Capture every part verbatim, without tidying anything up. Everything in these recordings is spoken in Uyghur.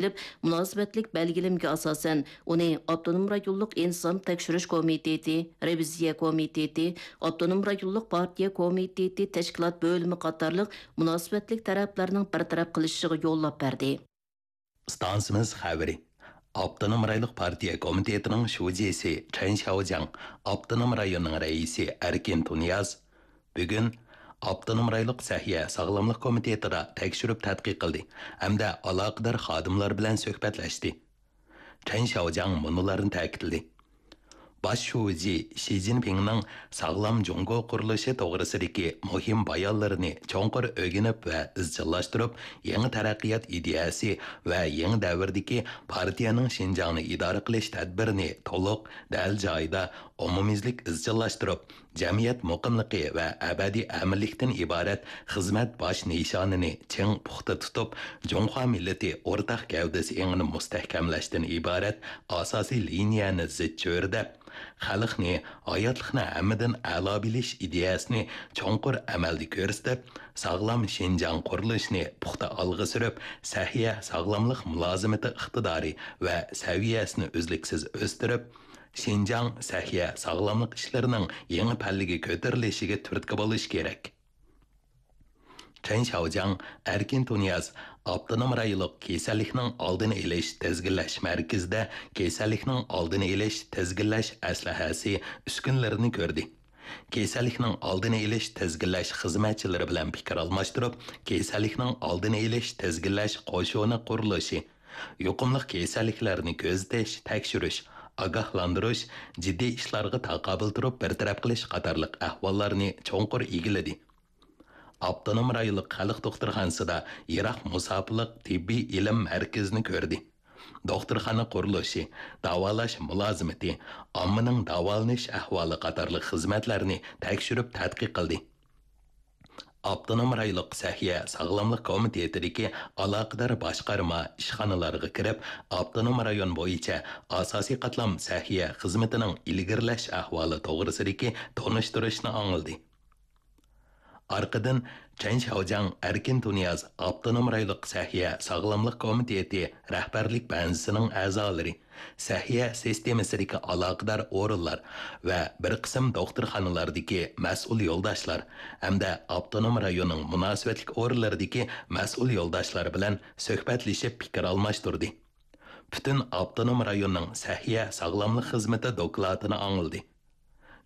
ئېلىپ، مۇناسىۋەتلىك بەلگىلىمىگە ئاساسەن، ئۇنى ئاپتونوم رايونلۇق ئىنتىزام تەكشۈرۈش كومىتېتى، رېۋىزىيە كومىتېتى، ئاپتونوم رايونلۇق پارتىيە كومىتېتى تەشكىلات بۆلۈمى قاتارلىق مۇناسىۋەتلىك تەرەپلەرنىڭ بىر تەرەپ قىلىشىغا يوللاپ بەردى. ئىستانسىمىز خەۋىرى. ئاپتونوم رايونلۇق پارتىيە كومىتېتىنىڭ شۇجىسى چېن شياۋجياڭ، ئاپتونوم رايوننىڭ رەئىسى ئەركىن تۇنىياز بۈگۈن ئاپتونوم رايونلۇق سەھىيە ساغلاملىق كومىتېتىدا تەكشۈرۈپ تەتقىق قىلدى ھەمدە ئالاقىدار خادىملار بىلەن سۆھبەتلەشتى. چېن شياۋجياڭ مۇنۇلارنى تەكىتلىدى. باش شۇجى شى جىنپىڭنىڭ ساغلام جۇڭگو قۇرۇلۇشى توغرىسىدىكى مۇھىم بايانلىرىنى چوڭقۇر ئۆگىنىپ ۋە ئىزچىللاشتۇرۇپ، يېڭى تەرەققىيات ئىدىيەسى ۋە يېڭى دەۋردىكى پارتىيەنىڭ شىنجاڭنى ئىدارە قىلىش تەدبىرىنى تولۇق، دەل جايىدا، ئومۇميۈزلۈك ئىزچىللاشتۇرۇپ، جەمئىيەت مۇقىملىقى ۋە ئەبەدىي ئەمىنلىكتىن ئىبارەت خىزمەت باش نىشانىنى چىڭ پۇختا تۇتۇپ، جۇڭخۇا مىللىتى ئورتاق گەۋدىسى ئېڭىنى مۇستەھكەملەشتىن ئىبارەت ئاساسىي لىنىيەنى زىچ چۆرىدەپ، خەلقنى، ھاياتلىقنى ھەممىدىن ئەلا بىلىش ئىدىيەسىنى چوڭقۇر ئەمەلدە كۆرسىتىپ، ساغلام شىنجاڭ قۇرۇلۇشىنى پۇختا ئالغا سۈرۈپ، سەھىيە ساغلاملىق مۇلازىمىتى ئىقتىدارى ۋە سەۋىيەسىنى ئۈزلۈكسىز ئۆستۈرۈپ، شىنجاڭ سەھىيە ساغلاملىق ئىشلىرىنىڭ يېڭى پەللىگە كۆتۈرۈلۈشىگە تۈرتكە بولۇشى كېرەك. چېن شياۋجياڭ، ئەركىن تۇنىياز ئاپتونوم رايونلۇق كېسەللىكنىڭ ئالدىنى ئېلىش تىزگىنلەش مەركىزىدە كېسەللىكنىڭ ئالدىنى ئېلىش تىزگىنلەش ئەسلىھەسى ئۈسكۈنىلىرىنى كۆردى. كېسەللىكنىڭ ئالدىنى ئېلىش تىزگىنلەش خىزمەتچىلىرى بىلەن پىكىر ئالماشتۇرۇپ، كېسەللىكنىڭ ئالدىنى ئېلىش تىزگىنلەش قوشۇنى قۇرۇلۇشى، يۇقۇملۇق كېسەللىكلەرنى كۆزىتىش، تەكشۈرۈش، ئاگاھلاندۇرۇش، جىددىي ئىشلارغا تاقابىل تۇرۇپ بىر تەرەپ قىلىش قاتارلىق ئەھۋاللارنى چوڭقۇر ئىگىلىدى. ئاپتونوم رايونلۇق خەلق دوختۇرخانىسىدا يىراق مۇساپىلىق تېببىي ئىلىم مەركىزىنى كۆردى. دوختۇرخانا قۇرۇلۇشى، داۋالاش مۇلازىمىتى، ئاممىنىڭ داۋالىنىش ئەھۋالى قاتارلىق خىزمەتلەرنى تەكشۈرۈپ تەتقىق قىلدى. ئاپتونوم رايونلۇق سەھىيە ساغلاملىق كومىتېتىدىكى ئالاقىدار باشقارما، ئىشخانىلارغا كىرىپ، ئاپتونوم رايون بويىچە ئاساسىي قاتلام سەھىيە خىزمىتىنىڭ ئىلگىرىلەش ئەھۋالى توغرىسىدىكى تونۇشتۇرۇشنى ئاڭلىدى. ئارقىدىن چېن شياۋجياڭ ئەركىن تۇنىياز ئاپتونوم رايونلۇق سەھىيە ساغلاملىق كومىتېتى رەھبەرلىك بەنزىسىنىڭ ئەزالىرى، سەھىيە سىستېمىسىدىكى ئالاقىدار ئورۇنلار ۋە بىر قىسىم دوختۇرخانىلاردىكى مەسئۇل يولداشلار ھەمدە ئاپتونوم رايوننىڭ مۇناسىۋەتلىك ئورۇنلىرىدىكى مەسئۇل يولداشلار بىلەن سۆھبەتلىشىپ پىكىر ئالماشتۇردى. پۈتۈن ئاپتونوم رايوننىڭ سەھىيە ساغلاملىق خىزمىتى دوكلاتىنى ئاڭلىدى.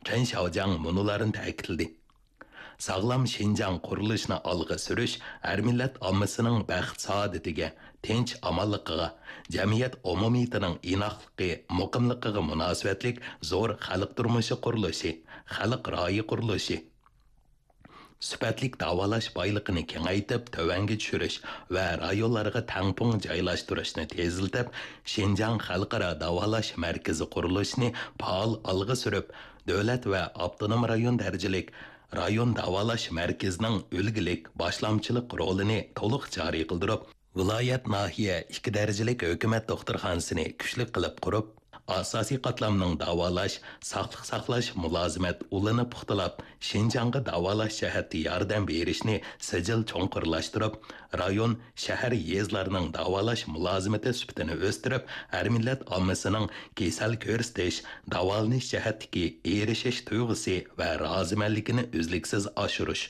چېن شياۋجياڭ مۇنۇلارنى تەكىتلىدى. ساغلام شىنجاڭ قۇرۇلۇشىنى ئالغا سۈرۈش ھەر مىللەت ئاممىسىنىڭ بەخت-سائادىتىگە، تىنچ-ئامانلىقىغا، جەمئىيەت ئومۇمىيىتىنىڭ ئىناقلىقى، مۇقىملىقىغا مۇناسىۋەتلىك زور خەلق تۇرمۇشى قۇرۇلۇشى، خەلق رايى قۇرۇلۇشى، سۈپەتلىك داۋالاش بايلىقىنى كېڭەيتىپ تۆۋەنگە چۈشۈرۈش ۋە رايونلارغا تەڭپۇڭ جايلاشتۇرۇشنى تېزلىتىپ، شىنجاڭ خەلقئارا داۋالاش مەركىزى قۇرۇلۇشىنى پائال ئالغا سۈرۈپ، دۆلەت ۋە ئاپتونوم رايون دەرىجىلىك رايون داۋالاش مەركىزىنىڭ ئۈلگىلىك باشلامچىلىق رولىنى تولۇق جارى قىلدۇرۇپ، ۋىلايەت، ناھىيە ئىككى دەرىجىلىك ھۆكۈمەت دوختۇرخانىسىنى كۈچلۈك قىلىپ قۇرۇپ، ئاساسىي قاتلامنىڭ داۋالاش، ساقلىق ساقلاش مۇلازىمەت ئۇلىنى پۇختىلاپ، شىنجاڭغا داۋالاش جەھەتتە ياردەم بېرىشنى سىجىل چوڭقۇرلاشتۇرۇپ، رايون، شەھەر، يېزىلارنىڭ داۋالاش مۇلازىمىتى سۈپىتىنى ئۆستۈرۈپ، ھەر مىللەت ئاممىسىنىڭ كېسەل كۆرسىتىش، داۋالىنىش جەھەتتىكى ئېرىشىش تۇيغۇسى ۋە رازىمەنلىكىنى ئۈزلۈكسىز ئاشۇرۇش،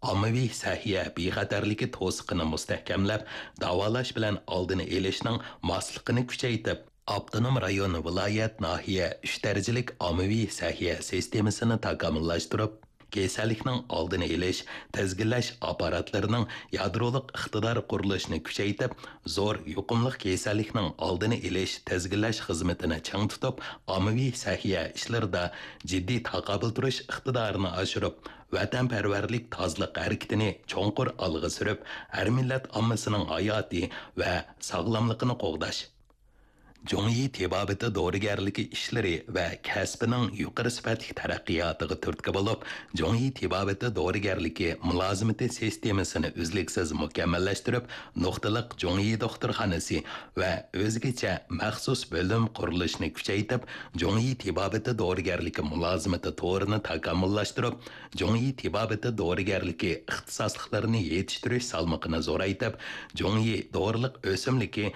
ئاممىۋى سەھىيە بىخەتەرلىكى توسۇقىنى مۇستەھكەملەپ، داۋالاش بىلەن ئالدىنى ئېلىشنىڭ ماسلىقىنى كۈچەيتىپ، ئاپتونوم رايون، ۋىلايەت، ناھىيە ئۈچ دەرىجىلىك ئاممىۋى سەھىيە سىستېمىسىنى تاكامۇللاشتۇرۇپ، كېسەللىكنىڭ ئالدىنى ئېلىش، تىزگىنلەش ئاپپاراتلىرىنىڭ يادرولۇق ئىقتىدار قۇرۇلۇشىنى كۈچەيتىپ، زور يۇقۇملۇق كېسەللىكنىڭ ئالدىنى ئېلىش، تىزگىنلەش خىزمىتىنى چىڭ تۇتۇپ، ئاممىۋى سەھىيە ئىشلىرىدا جىددىي تاقابىل تۇرۇش ئىقتىدارىنى ئاشۇرۇپ، ۋەتەنپەرۋەرلىك تازىلىق ھەرىكىتىنى چوڭقۇر ئالغا سۈرۈپ، ھەر مىللەت ئاممىسىنىڭ ھاياتى ۋە ساغلاملىقىنى قوغداش، جۇڭيى تېبابىتى دورىگەرلىكى ئىشلىرى ۋە كەسپىنىڭ يۇقىرى سۈپەتلىك تەرەققىياتىغا تۈرتكە بولۇپ، جۇڭيى تېبابىتى دورىگەرلىكى مۇلازىمىتى سىستېمىسىنى ئۈزلۈكسىز مۇكەممەللەشتۈرۈپ، نۇقتىلىق جۇڭيى دوختۇرخانىسى ۋە ئۆزگىچە مەخسۇس بۆلۈم قۇرۇلۇشىنى كۈچەيتىپ، جۇڭيى تېبابىتى دورىگەرلىكى مۇلازىمىتى تورىنى تاكامۇللاشتۇرۇپ، جۇڭيى تېبابىتى دورىگەرلىكى ئىختىساسلىقلىرىنى يېتىشتۈرۈش سالمىقىنى زورايتىپ، جۇڭيى دورىلىق ئۆسۈملۈكى